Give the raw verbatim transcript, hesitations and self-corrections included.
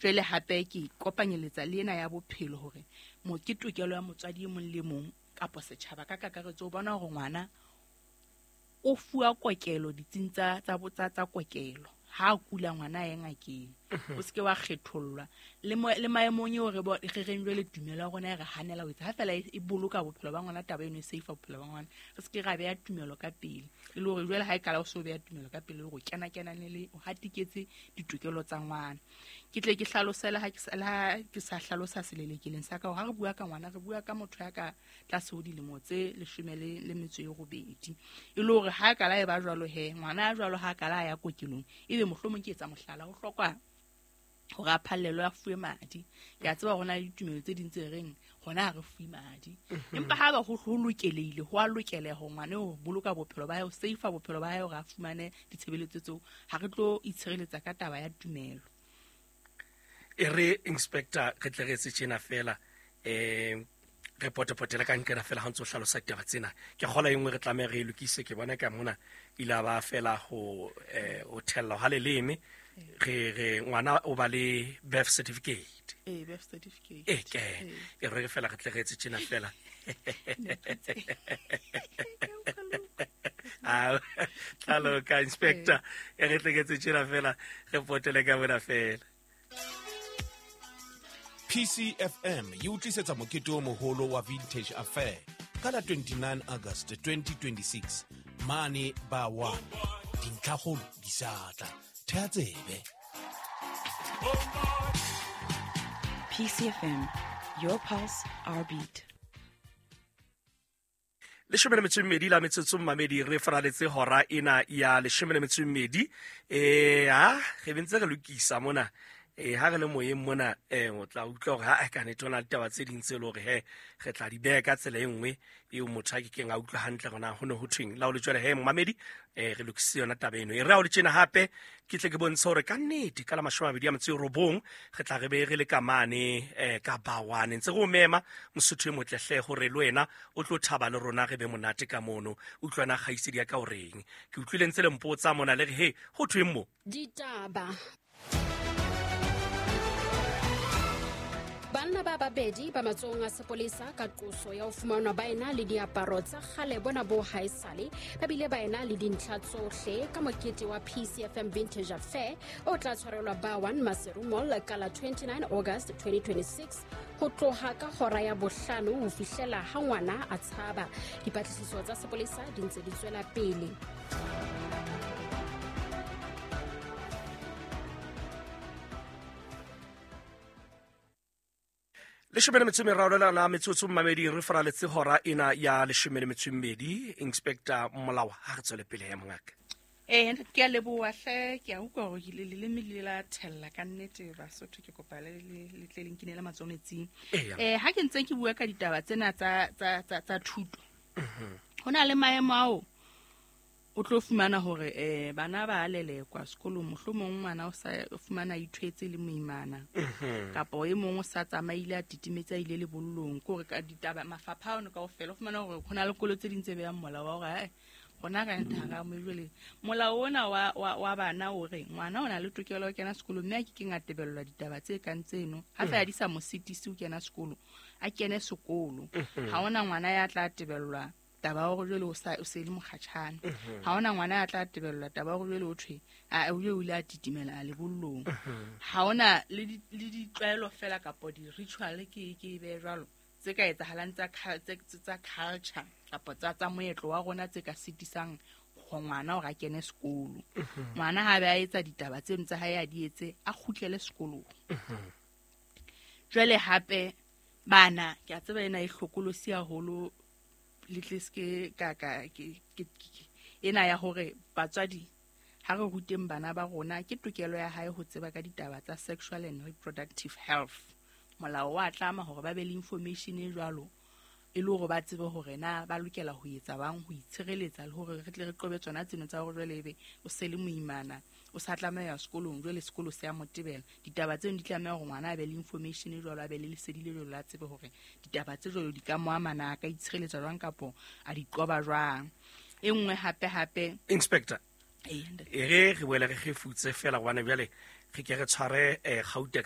Jwale hape ke kopanyeletsa le ena ya bophelo hore mo ke tokelo ya motswadi e mong le mong kapa setjhaba ka kakaretso o bona hore ngwana o fuwa kokelo ditsing tsa tsa tsa tsa kokelo. Ha kula ngwana a ye ngakeng, o seke wa kgethollwa le le maemong eo re re reng jwale tumelo ya rona e re hanela ho etsa ha fela e boloka bophelo ba ngwana, taba eno e safe bophelo ba ngwana. Re seke ra beha tumelo ka pele, e le hore jwale ha e kala o so beha tumelo ka pele hore o kena kenane le o hatiketse ditokelo tsa ngwana. Ke tle ke hlalosela ha ke sa ha ke sa hlalosa selelekeleng sa ka hore ha re bua ka ngwana re bua ka motho ya ka tlase ho dilemo tse leshome le le metso e robedi, e le hore ha kala e ba jwalo he ngwana ya jwalo ha kala ya kokelong ebe mohlomong ke etsa mohlala ho hlokwa hore a phallelwe a fuwe madi. Ke a tseba hore na le ditumelo tse ding tse reng hona ha re fuwe madi, empa ha ba ho lokelehile ho a lokeleha hore ngwana o boloka bophelo ba hae, o safe bophelo ba hae hore a fumane ditshebeletso tseo. Ha re tlo itshireletsa ka taba ya tumelo. E re inspector re tle re etse tjena fela, eh re potepotele ka nkena fela ha ntse o hlalosa ditaba tsena. Ke kgola e nngwe re tlameha re e lokise, ke bona ka mona ile ba fela ho eh ho thella ha leleme. Re re ngwana o ba le birth certificate. Eh birth certificate. Eh ke e re fela re tle re etse tjena fela. Ah tlalo ka inspector e re tle re etse tjena fela re potele ka mona fela. P C F M e o tlisetsa mokete o moholo wa Vintage Affair ka la twenty-nine August twenty twenty-six mane ba one. Dintlhakgolo di sa tla. Thea tsebe. P C F M, your pulse, our beat. Leshome le metso e mmedi la metsotso mmamedi re faraletse hora ena ya leshome le metso e mmedi. Eh ha re bentse re lokisa mona. Eh ha re le moyeng mona eh o tla utlwa hore ha ka nete ona ditaba tse ding tse le hore he re tla di beha ka tsela e nngwe eo motho a ke keng a utlwa hantle rona ho ne ho thweng. La o le jwale he mmamedi eh re lokisitse yona taba eno. E re ha o le tjena hape ke tle ke bontshe hore ka nnete ka la mashome a mabedi a metso e robong re tla re be re le ka mane eh ka Bawane. Ntse re o mema Mosotho e motle hle hore le wena o tlo thaba le rona re be monate ka mono. Utlwana kgaitsedi ya ka o reng. Ke utlwile ntse le mpotsa mona le re he ho thweng mo. Ditaba. Banna ba babedi ba matsohong a sepolesa ka qoso ya ho fumanwa ba ena le diaparo tsa kgale bona bo haesale, ba bile ba ena le dintlha tsohle ka mokete wa P C F M Vintage Affair o tla tshwarelwa ba one Maseru Mall ka la twenty-nine August twenty twenty-six ho tloha ka hora ya bohlano ho fihlela ha ngwana a tshaba. Dipatlisiso tsa sepolesa di ntse di tswela pele. Leshome le metso e meraro la metsotso mmamedi re faraletse hora ena ya leshome le metso e mmedi. Inspector Molao ha re tswele pele ya mongaka. Eh ke a leboha hle, ke a utlwa hore le leleme le la thella ka nnete Basotho, ke kopa le le tle le nkinele matsoho metsing. Eh ha ke ntse ke bua ka ditaba tsena tsa tsa tsa thuto, ho na le maemo ao o tlo fumana hore eh bana ba lelekwa sekolong, mohlomong ngwana o sa fumana ithwetse le moimana kapa e mong o sa tsamaile a titimetse a ile lebollong. Ke hore ka ditaba mafapha ono kaofela o fumana hore ho na le kolo tse ding tse behang molao wa hore eh rona ka nthara mo jwale molao ona wa wa bana o re ngwana o na le tokelo ya ho kena sekolo mme a ke keng a tebellwa ditaba tse kang tseno ha fa di sa mo sitisi ho kena sekolo, a kene sekolo. Ha ona ngwana ya tla tebellwa taba hore jwale o sa o se le mokgatjhane, ha ona ngwana ya tla tebellwa taba hore jwale o thwe a o ile a titimela a lebollong. Ha ona le le ditlwaelo fela kapa di ritual ke ke be jwalo tse ka etsahalang tsa tsa culture kapa tsa tsa moetlo wa rona tse ka sitisang ho ngwana hore a kene sekolo. Ngwana ha ba etsa ditaba tseno tsa hae a di etse a kgutlele sekolong. Jwale hape bana ke a tseba ena e hlokolosi haholo le tle ske ka ka ke ena ya hore batswadi ha re ruteng bana ba rona ke tokelo ya hae ho tseba ka ditaba tsa sexual and reproductive health. Molao wa tlama hore ba be le information e jwalo e le hore ba tsebe hore na ba lokela ho etsa bang ho itshireletsa le hore re tle re qobe tsona tseno tsa hore jwale ebe o se le moimana o sa tlameha sekolong jwale sekolo se a motebela. Ditaba tseno di tlameha hore ngwana a be le information e jwalo, a be le lesedi le jwalo, a tsebe hore ditaba tse jwalo di ka mo amana, a ka itshireletsa jwang kapo a di qoba jwang. E nngwe hape hape Inspector e re re boele re kgefutse fela hobane jwale re ke re tshware Gauteng ka